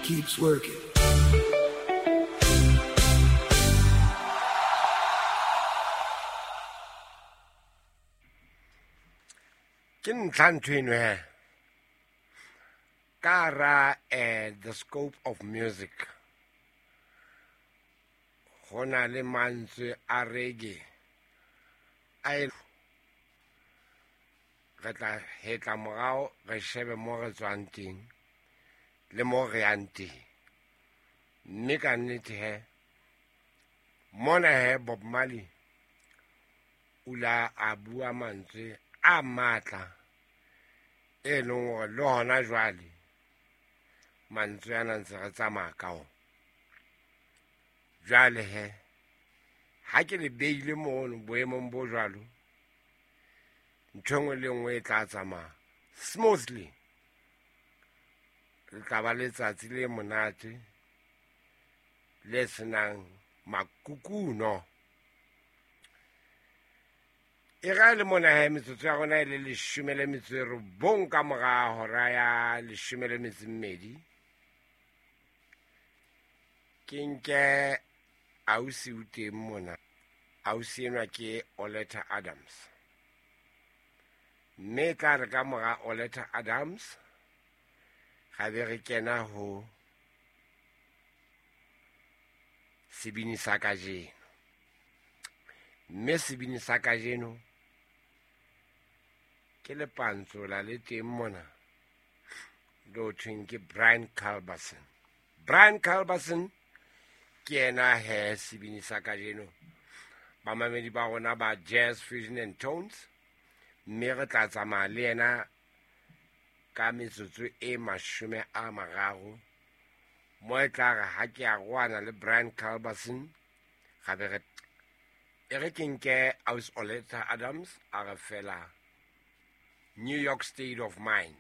Keeps working. Ke ntlha ntho eno he ka ra the scope of music go na le mantswe a reggae a e re tla hetla morao re shebe mo re tswang teng le mo re yang teng mme ka nnete he mona he Bob Marley o la a bua mantswe a matla e leng hore le hona jwale mantswe ana ntse re tsamaya ka ona. Jwale he ha ke le beile mono boemong bo jwalo, ntho e nngwe le nngwe e tla tsamaya smoothly. Le tla ba letsatsi le monate le senang makukuno. E ra le mona he metsotso ya rona e le 19 ka mora hora ya 12. Ke nke ausi o teng mona. Ausi enwa ke Oleta Adams. Mme tla re ka mora Oleta Adams ga be re kena ho sebini sa kajeno. Mme sebini sa kajeno ke lepantsola le teng mona le thweng ke Brian Culberson. Brian Culberson ke yena he sebini sa kajeno. Bamamedi ba rona ba Jazz Fusion and Tones, mme re tla tsamaya le yena ka metsotso e 30 mo e tla re ha ke a roana le Brian Culberson ga be re e re ke nke aus Oleta Adams a re fela New York State of Mind.